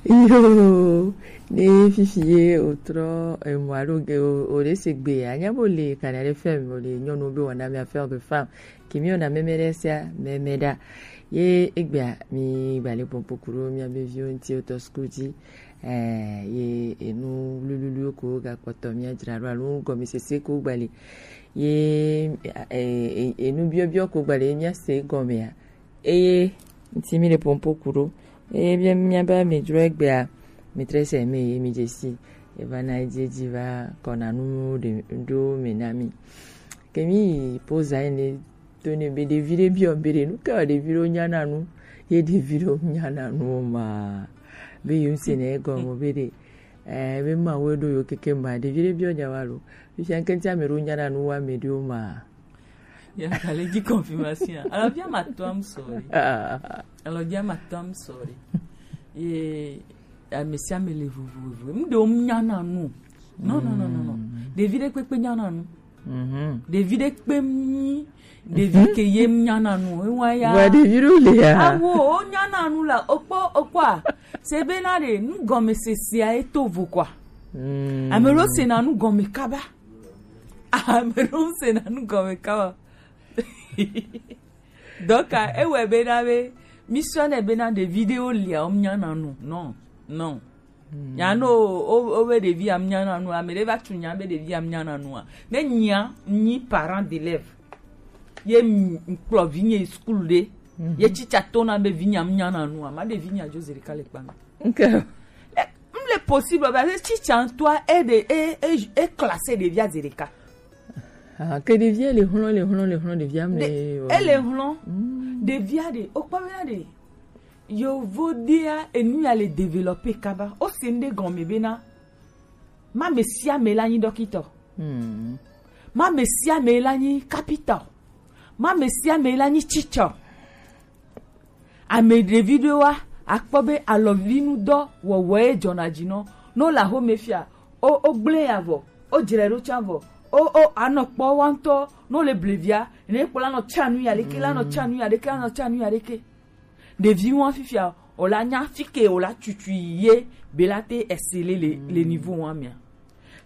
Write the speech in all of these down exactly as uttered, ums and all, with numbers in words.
Yo, ne fifi ye otrɔ emɔ alo ge o o ɖe se gbe anya bo le Canal F M o le nyɔnu be wɔna mi affaire de femme. Kemi ona mɛmɛ ɖe sia mɛmɛ ɖa. Ye egbea mi gba le pɔnpo kuro mia be viwo ŋuti wotɔ suku dzi. Eh, ye enu lululu ko ga kpɔtɔ mia dzra ɖo alo gɔmesese ko gba le. Ye eh, eh, enu biɔbiɔ ko gba le mia se gɔmea. Eye ŋuti mi le pɔnpo kuro. Eye bia mia be mi dzro egbea mi tre se me ye mi dzesi. Eva na edzi edzi va kɔna nu ɖe ɖo me na mi. Ke mi yi poza ene to ne be ɖevi ɖe biɔ be ɖe nu ke wa ɖevi ɖewo nyana nu ye ɖevi ɖewo nyana nu o ma be yi ŋuti ne egɔme be ɖe eh be ma wo ɖo yo keke ma ɖevi ɖe biɔ nya wa lo fifia ŋke ŋuti ame ɖewo nyana nu wa ame ɖewo ma. Ya kale dzi confirmation. Alors bien ma toi I'm sorry. Alors bien ma toi I'm sorry. Ye ame sia ame le vovovo. Ŋɖewo nyana nu. Non non non non non. Ɖevi ɖe kpekpe nyana nu. Ɖevi ɖe kpe nyi ɖevi ke ye nyana nu ewa ya. Wa ɖevi ɖo le ya. Awo o nyana nu la okpɔ okpɔa se be na ɖe nu gɔme se sia eto vo kwa. Ame ɖo se na nu gɔme kaba. Ame ɖo se na nu gɔme kaba. Donc ewɛ be na be mi sɔ ne be na ɖevi ɖe o lia o nyana nu. Non non. Nya no o o be ɖevi am nyana nu ame ɖe va tu nya be ɖevi am nyana nua ne nya nyi parent d'élève ye m- m- kplɔ vi nye school ɖe ye tsitsa to na be vi nya m nyana nua ma ɖevi nya jo zerika le kpa mi. Okay. M le possible ba se tsitsa ŋutɔa e de e e e classe ɖevia zerika. Ah, ke ɖevia le hlɔ̃ le hlɔ̃ le hlɔ̃ ɖevia mle. Ele hlɔ̃ ɖevia ɖe okpɔ be na ɖe yovo ɖea enu ya le développer kaba o se ŋɖe gɔme bena ma me sia me la nyi dɔkitɔ. Ma me sia me la nyi kapitɔ. Ma me sia me la nyi tsitsɔ. Ame ɖevi ɖewoa akpɔ be alɔvinudɔ wɔwɔe dzɔna dzi nɔ. No la home fia o o gblẽ ya vɔ o dzre ɖo tsã vɔ o o anɔ kpɔ wa ŋutɔ no le blevia ne kpɔ la nɔ tsa nu ya ɖeke la nɔ tsa nu ya ɖeke la nɔ tsa nu ya ɖeke. Ɖevi wa fifia o la nya fike o la tutu ye be la te esele le le niveau wa mea.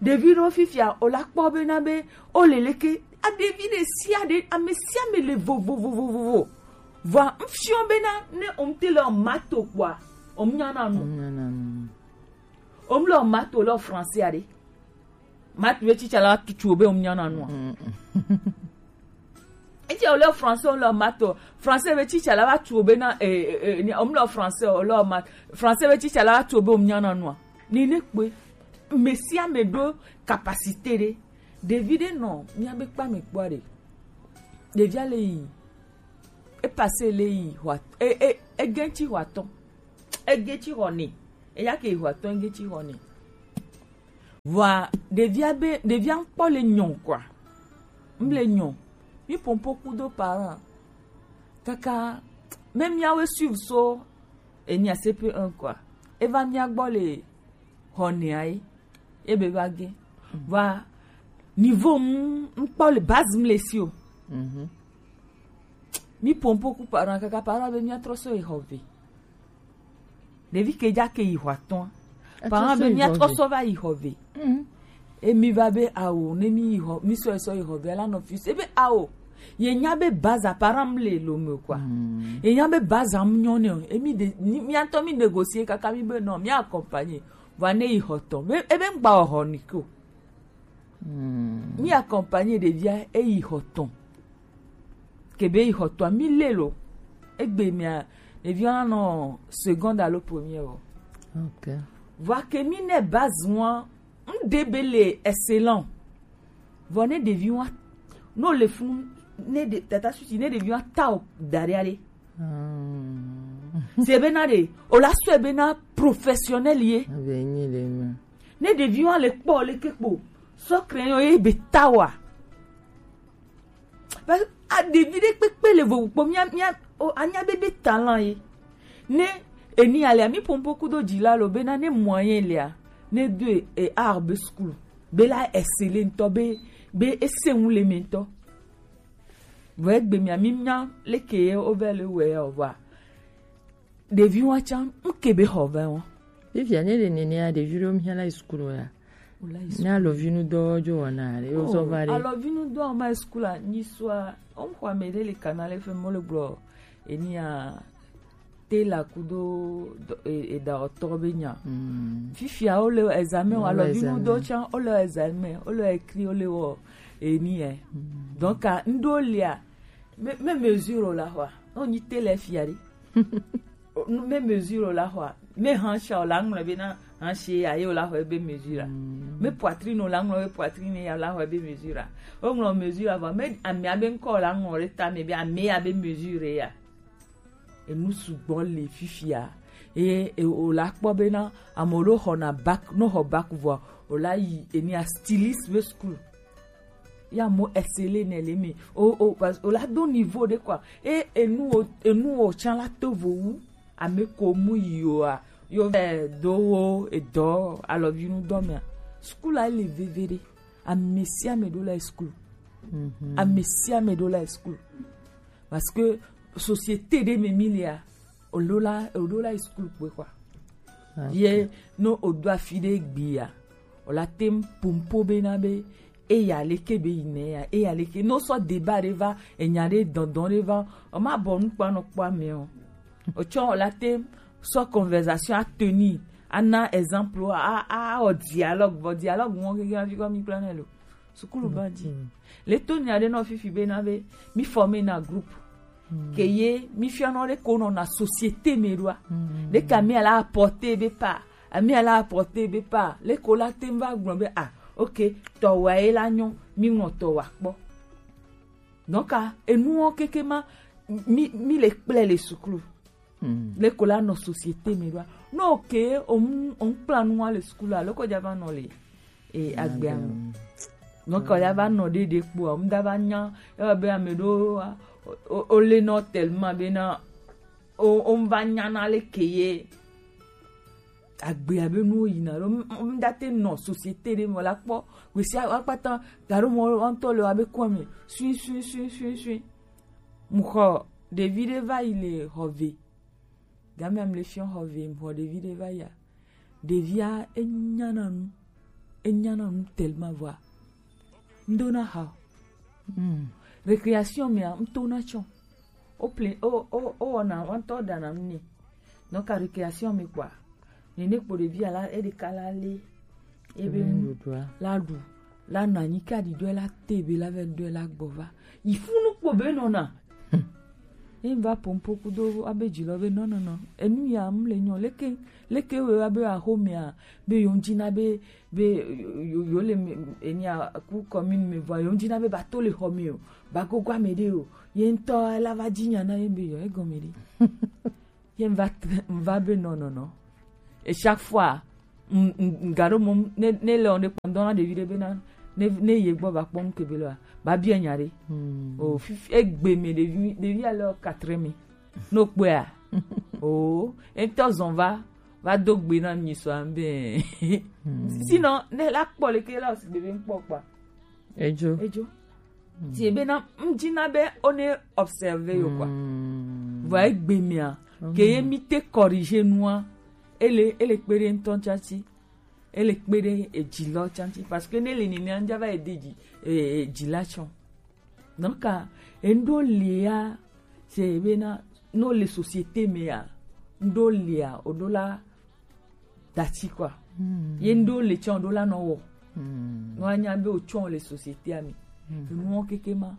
Ɖevi ɖewo fifia o la kpɔ be na be o le leke a ɖevi ɖe sia ɖe ame sia ame le vovovovovovo. Vɔa ŋfiɔ be na ne o ŋte le o mato kpɔa o nya na nu. O mle o mato le o français aɖe. Mato be tsitsa la tutu o be o nya na nua. Eti o le français o le mato français be tsitsa la va tu o be na eh eh eh, o mle français o le mat français be tsitsa la va tu o be o nya na nua. Ni ne kpe me sia me ɖo capacité ɖe ɖevi ɖe nɔ mia be kpa me kpɔ ɖe ɖevia le yi e passé le yi hwa e e e gɛntsi hwa tɔn e gɛntsi hɔ ne eya ke yi hwa tɔn e gɛntsi hɔ ne. Vɔa ɖevia be ɖevia ŋkpɔ le nyɔ kɔa. Ŋle nyɔ mi pompo kudo parent kaka me miawe suivre so enya C P un kɔa eva mia gbɔ le hɔ nea ye ebe va ge va niveau ŋkpɔ le base ŋle si o. Mi pompo ku parent kaka parent be mia trɔ so yi hɔ ve. Ɖevi ke dza ke yi xɔ atɔ̃a. Parent be mia trɔ sɔ va yi xɔ ve. Emi va be awo ne mi yi xɔ mi sɔ sɔ yi xɔ ve la nɔ fi. Ebe awo. Ye nya be baza parent le lo me quoi. Ye nya be baza mu nyɔ ne o. Emi de mia ŋutɔ mi négocier kaka mi be non mi accompagner. Va ne yi xɔ tɔ̃. Be ebe ŋgba xɔ ni ko. Mi accompagner ɖevia eyi xɔ tɔ̃. Ke be yi xɔ tɔ̃a mi le lo. Egbe mia ɖevia nɔ seconde alo première o. Okay. Vɔa ke mi ne base ŋua ŋɖe be le excellent. Vɔ ne ɖevi ŋua no le funu ne ɖe tata susi ne ɖevi ŋua ta o da ɖe aɖe. Se be na ɖe o la sɔe be na professionnel ye. Abe nyi le me. Ne ɖevi wa le kpɔ le ke kpo sɔ crayon ye be ta wa. Parce que a ɖevi ɖe kpekpe le vovo kpɔ mia mia o anya be be talent ye. Ne eni alea mi pompo kudo dzi la lo be na ne moyen lea ne do e art be school be la excellent ŋutɔ be be ese ŋu le me ŋutɔ. Vɔ egbe mia mi mia leke ye wo be le wɛ o vɔa. Ɖevi wa tsã ŋke be xɔ vɛ wa. Fifia ne le nene ya ɖevi ɖewo mihã la yi sukulu ya. Ne alɔvinu dɔ jo wɔna ɖe yo zɔ va ɖe. Alɔvinu dɔ ma yi sukulu a nyi sua. Omxɔ ame ɖe le Canal F M mo le gblɔ enia te la kudo edaɔtɔ be nya. Fifia wo le examen o, alɔvinu dɔ tsan wo le examen, wo le écrit, wo le wɔ eni ɛ. Donc a ŋɖo lia me mesure o la xɔa. O nyi te le fia ɖe. Me mesure o la xɔa. Me hancha o la ŋlɔ be na hanche ya ye o la xɔ ebe mesure a. Me poitrine o la ŋlɔ be poitrine ya o la xɔ ebe mesure a. O ŋlɔ mesure a vɔ me amea be ŋkɔ o la ŋlɔ ɖe ta me be amea be mesure ya. Enu sugbɔ le fifia. Eye o la kpɔ be na ame ɖo xɔna bac, no xɔ bac vɔ o la yi enia styliste be school. Ya mo esele ne le mi o o o la do niveau de quoi. E enu o enu o chan la to vo wu ame ko mu yi o a yo eh, do wo edo alɔvinu dɔ mea. School a le veve de. Ame sia ame ɖo la school. Ame sia ame ɖo la school. Parce que société de me milia o lo la o ɖo la school kpe quoi. Ye no o do afi de gbia. O la tem pompo be na be eya leke be yi ne ya eya leke no sɔ débat de va enya de dandan de va o ma bɔ nu kpa nɔ kpa me o. O tsɔ o la tem sɔ conversation a tenir a na exemple a a o dialogue vɔ dialogue mo keke a fi kɔ mi kpla ne lo. Sukulu ba di. Le to nya de no fifi be na be mi former na groupe. Ke ye mi fia no de ko no na société me ɖoa. De ka mi ala apporter be pa. Ami ala apporter be pa. Le ko la tem va gblɔ be ah, ok, tɔ wa ye la nyo, mi ŋlɔ tɔ wa kpɔ. Donc a enu wo keke ma mi mi le kple le sukulu. Le ko la nɔ société me ɖoa. No ke o mu o mu kpla nu wa le sukulu a le ko ja va nɔ le e agbea me. Donc o ja va nɔ ɖe ɖe kpo a mu da va nya e be ame ɖo o o le nɔ tellement be na o o va nya na le ke ye agbea be nu yina ɖo. Ŋdate nɔ société ɖe me la kpɔ wesi akpata gaɖo mɔ ŋutɔ le wa be kɔ me sui sui sui sui sui. Mu xɔ ɖevi ɖe va yi le xɔ ve. Game am le fiɔ xɔ ve mu xɔ ɖevi ɖe va yi a. Ɖevia enyana nu enyana nu tellement vɔa ŋdona ha o. Récréation mea ŋtona tsɔ. O ple o o o wɔna wantɔ dana nu ne. Donc a récréation me kpɔa nene kpo ɖevia la eɖeka la le ebe nu la ɖu la na nyi ka ɖi dɔɛ la te be la vɛ dɔɛ la gbɔ va yi funu kpo be nɔna. Ye va pompo kudo abe dzi lɔ be nɔnɔnɔ enu ya mu le nyɔ leke leke wo abe axomea be yo ŋdzi na be be yo le enia ku commune me vɔ yo ŋdzi na be ba to le xɔ me o ba gogo ame ɖe o ye ŋtɔ la va dzi nya na ye be yo egɔme ɖe. Ye ŋva ŋva be nɔnɔnɔ. Et chaque fois ŋga ɖo mɔ ne ne le ɔn ɖe kpɔ ŋdɔ na ɖevi ɖe be na ne ne ye gbɔ va kpɔ ŋke be lɔ ba bia nya ɖe. O fifi egbe me ɖevi ɖevi ale ɔ quatre me no kpɔa. O ŋtɔ zɔn va va do gbe na mi sɔ ambe. Sinon ne la kpɔ le ke la osi gbebe ŋkpɔ kpa. Edzo. Edzo. Ti ebe na ŋdzi na be o ne observer yo kpa. Vɔ egbe mea ke ye mi te corriger nua ele ele kpe ɖe ŋtɔ tsatsi ele kpe ɖe edzi lɔ tsatsi parce que ne le nene ŋdza va ede dzi edzi la tsɔ. Donc a ŋɖo lia se be na no le société me a ŋɖo lia o ɖo la dati quoi. Ye ŋɖo le tsɔ o ɖo la nɔ wɔ. No anya be o tsɔ le société a me. Nuwo keke ma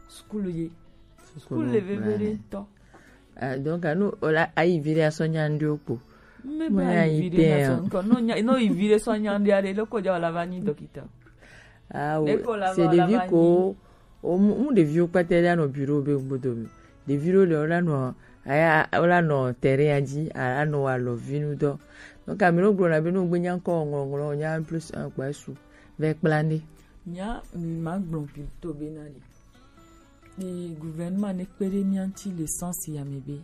sukulu ye sukulu le veve ɖe ŋtɔ. Ah, donc anu ola ayi vi ɖe asɔ nya ŋɖe kpo. Me ba ayi vi ɖe na sɔ ŋkɔ no nya no yi vi ɖe sɔ nya ŋɖe aɖe loko dza wala va nyi dɔkita. Ah, c'est depuis ko o mu ɖeviwo kpata ɖe anɔ bureau be ŋgbodo me ɖevi ɖewo le wola nɔ aya wola nɔ terrain ya dzi anɔ wa lɔ vinu dɔ. Donc ame ɖewo gblɔna be ne wogbe nya ŋkɔ ŋlɔŋlɔ nya plus un kpa esu vɛ kpla ne. Nya mi ma gblɔ plutôt be na le. Ni gouvernement ne kpe ɖe mía ŋuti le sens ya me be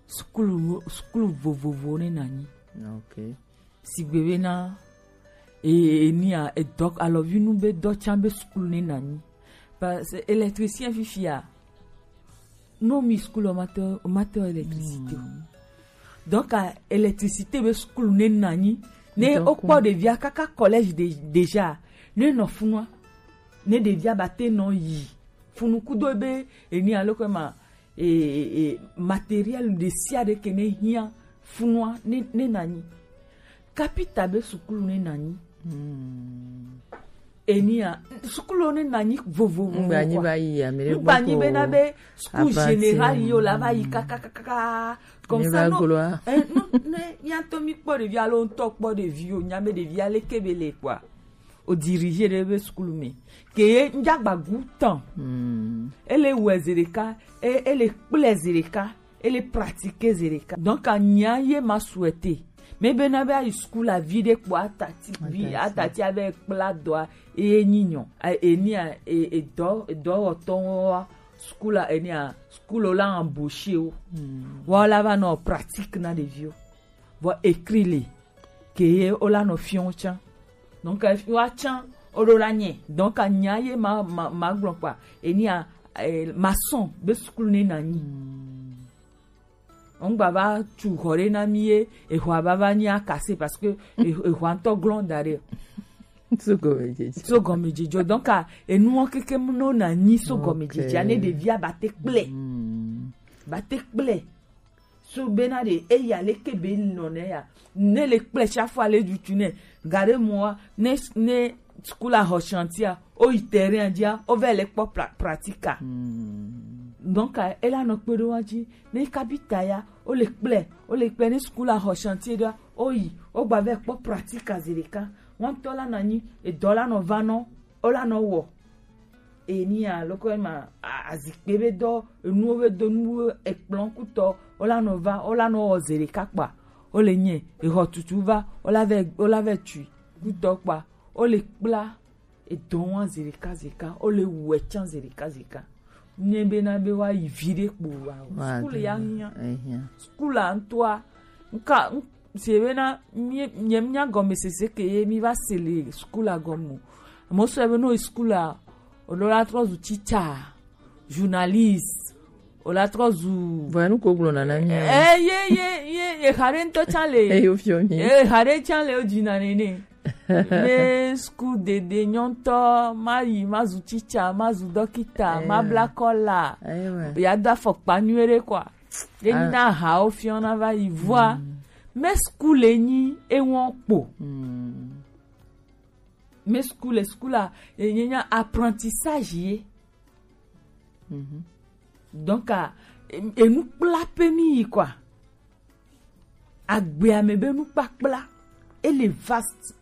sukulu sukulu vovovo ne na nyi. Ok. Sigbe be na e enia edɔ alɔvinu be dɔ tsa be sukulu ne na nyi. Parce que électricien fifia no mi sukulu o ma te o ma te électricité o. Donc, euh, électricité be sukulu ne nanyi. Ne Donc, okpɔ ɖevia kaka collège de, déjà. Ne nɔ funua. Ne ɖevia ba te nɔ yi. Funu kudo be, eni alo kwe ma, e, e, e, matériel de sia de ke ne hia funua ne, ne nanyi. Kapita be sukulu ne nanyi. Hmm. Enia, sukulu ne nanyi vovovo. Ngba nyi va yi, ame ɖe Ngba nyi gbɔ be na be school général yo la va yi kakakaka. Comme ça, non. Eh, non, ne, nya to mi kpɔ ɖevi alo ŋutɔ kpɔ ɖevi o, nya be ɖevi ale ke be le quoi. O dirige ɖe be sukulu me. Ke ye njagba gu tan. Hmm. Ele wɛ zi ɖeka, e, ele kple zi ɖeka. Ele pratiquer zi ɖeka. Donc, anya ye ma souhaiter. Mais be na be ayi school a vi ɖe kpɔ atati, vi atati ave kpla dɔa, eye nyi nyɔ. A, eni a, e, e dɔ, e dɔwɔtɔwo wa school a, eni a, school o la embaucher wo. Hmm. Wa la va nɔ pratique na ɖeviwo. Vɔ écrit le. Ke ye o la nɔ fiɔ tsã. Donc, e, wa tsã, o ɖo la nye. Donc, anya ye ma, ma, ma gblɔ kpa. Eni a, e, maçon be sukulu ne nanyi. Hmm. Ŋgba va tu xɔ ɖe na mi ye, exɔa va va nyi akase parce que e-, exɔa ŋutɔ glɔn da ɖe. So gɔmedzedze. So gɔmedzedze. Donc, a, enuwo keke no nanyi so gɔmedzedze. Ok. Ne ɖevia ba te kple. Hmm. Ba te kple. So bena ɖe eya leke be nɔ ne ya. Ne le kple chaque fois le dutu ne. Gare moa, ne, ne school a xɔ chantier a, o yi terrain a dzia, o vɛ le kpɔ pra-, pratique a. Hmm. Donc, a, e la nɔ kpe ɖo wa dzi. Ne kapita ya, o le kple, o le kple ne school a xɔ chantier ɖoa, o yi, o gba vɛ kpɔ pratique a zi ɖeka. Wan tɔ la nanyi, edɔ la nɔ va nɔ, o la nɔ wɔ. Eni a, loko ema, a, azikpe be dɔ, enuwo be do, nuwo ekplɔn kutɔ, o la nɔ va, o la nɔ wɔ zi ɖeka kpa. O le nye, exɔ tutu va, o la vɛ, o la vɛ tui kutɔ kpa. O le kpla, edɔ wa zi ɖeka zi ɖeka, o le wɛ tsã zi ɖeka zi ɖeka. Nye be na be wa yi vi ɖe kpo wa o. Wa School do ya nya. Ehia. School a ŋutɔa, nka, n-, si be na, mi, nye mi nya gɔmesese ke ye mi va se le school a gɔme o. Amo sɔ be no school a, o ɖo la trɔ zu teacher, journaliste, o la trɔ zu. Vɔ, enu ko gblɔ nana mi. Eh, ye, ye, ye, ye, xa ɖe ŋutɔ tsã le. Eyo fiɔ mi. Eh, xa ɖe tsã le o dzi na nene. Me school dede nyɔntɔ, ma yi, ma zu teacher, ma zu dɔkita, ma bla kɔla. Ewa. Ya do afɔkpa nyuie ɖe kɔa. Ye na ha o fiɔ na va yi vɔa. Mm. Me school le nyi ewɔn kpo. Mm. Me school, school a, e, nye nya apprentissage ye. Mhm. Donc, a, e, enu kpla pe mi yi quoi. Agbea me be nukpakpla, ele vaste.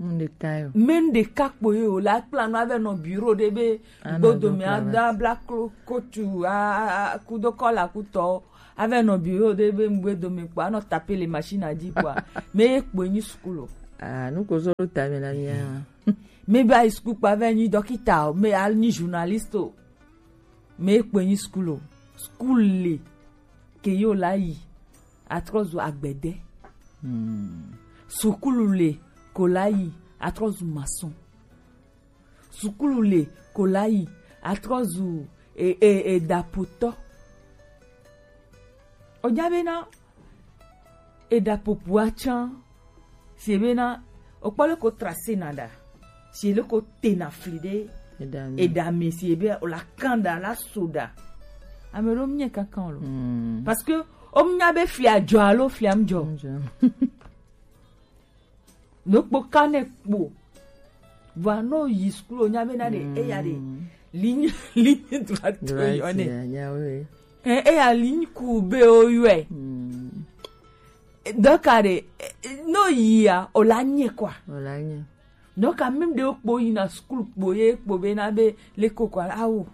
Ŋɖeka yo. Me ŋɖeka kpo ye o la kpla no ave nɔ bureau ɖe be gbodome ada bla klo kotu a, a, a, kudo kɔla kutɔ. Ave nɔ bureau ɖe be ŋgbe dome kpɔ, anɔ taper le machine a dzi kpɔa, me ye kpoe nyi school o. Ah, nu ko zɔ ɖo ta me na mia. Me be ayi school kpɔ ave nyi dɔkita o, me anyi journaliste o. Me ye kpoe nyi school o. School le ke yo la yi atrɔ zu agbede. Hmm. Sukulu le ko la yi atrɔ zu maçon. Sukulu le ko la yi atrɔ zu e, e, e, eɖapotɔ. O nya be na eɖapopoa tsã, si be na o kpɔ le ko tracé na ɖa, si le ko te na fli ɖe eɖa me, si be o la kan ɖa la so ɖa. Ame ɖewo mie kankan o lo. Hmm. Parce que o nya be flia dzɔ alo flia mdzɔ. Mdzɔ. No kpo kane kpo. Vɔa no yi school o nya be na ɖe, mm, eya ɖe. Ligne, ligne droite o yɔ ne. Droite, ya, ya, oui. Eh, eya ligne courbe o yɔe. Mm. Donc, a ɖe, eh, no yia, o la nye quoi. O la nye. Donc, a même ɖe o kpo yi na school kpo ye kpo be na be le ko quoi, awo.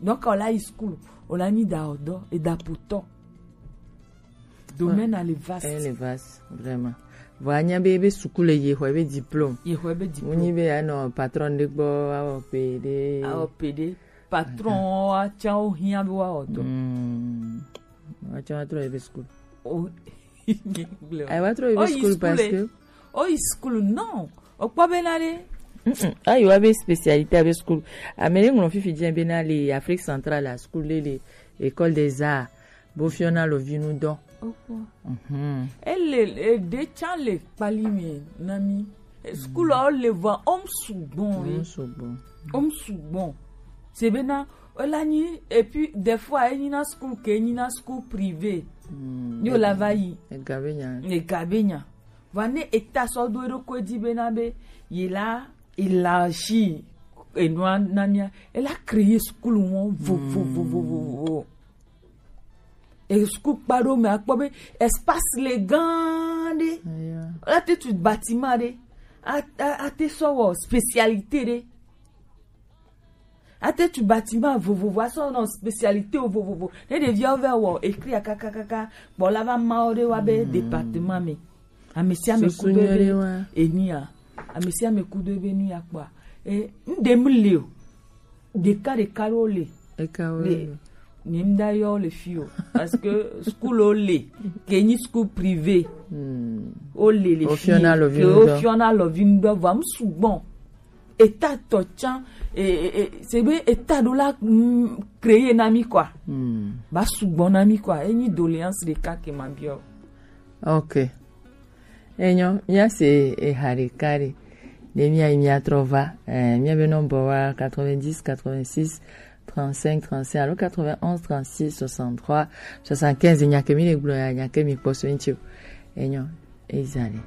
Donc, o la yi school, o la nyi ɖa o dɔ, eɖapotɔ. Domaine a le vaste. Eh, le vaste, vraiment. Vɔ anya be, be sukulu ye xɔ be diplôme. Ye xɔ be diplôme. Mu nyi be anɔ patron ɖe gbɔ, awɔ pe ɖe. Awɔ pe ɖe. Patron wa tsã wo hiã be wa wɔ dɔ. Hmm. Wa tsã wa trɔ ye be sukulu. O, ayi wa trɔ ye be sukulu parce que. O yi sukulu, non. O kpɔ be na ɖe. Mm-mm. Ayi wa be spécialité a be sukulu. Ame ɖe ŋlɔ fifi dze be na le Afrique centrale a sukulu le, le École des Arts. Bo fiɔ na lo vi nu dɔ. Opo. Mhm. Ele, e, de tsa le kpali me na mi. E, school o le va, om sugbon, oui. Om sugbon. Om sugbon. Se bena, o la nyi, et puis, des fois, e nyi na school ke, e nyi na school privé. Mm, ni o la va yi. E gabe nya. E gabe nya. Va ne eta so do e do ko di bena be, ye la, élargi, e nua na mia, e la créer school won, vo, vo, vo, vo, vo, vo. E school kpa ɖo me akpɔ be espace le gan ɖe. Aya. A te tu bâtiment ɖe. A, a, a te sɔ wɔ spécialité ɖe. A te tu bâtiment vovovo, a sɔ nɔ spécialité wo vovovo. Ne ɖeviawo va wɔ écrit kakakaka, kpɔ la va ma wo ɖe wa be département me. Ame sia ame ku do ebe enia. Ame sia ame ku do ebe nu ya kpɔa. E, n ɖem le o. Ɖeka ɖeka ɖewo le. Eka wo le. Ni m da yɔ le fi o. Parce que school o le. Ke nyi school privé. Hmm. O le le fi. O fiɔna lɔvi ke nu o dɔ. Fiɔna lɔvi nu dɔ. Vɔa m sugbɔn. Eta tɔ tsan. E, e, e, se be eta ɖo la, mm, créer na mi quoi. Hmm. Ba sugbɔn na mi quoi. E nyi doléance ɖeka ke ma biɔ. Ok. Enyo, mia se eha ɖeka ɖe. Ne mia yi mia trɔ va, eh, mia be nɔmba wa quatre-vingt-dix, quatre-vingt-six, trente-cinq, trente-cinq alo quatre-vingt-onze, trente-six, soixante-trois, soixante-quinze. Nya ke mi le gblɔ ya, nya ke mi kpɔ so ŋuti o. Enyo, ezali.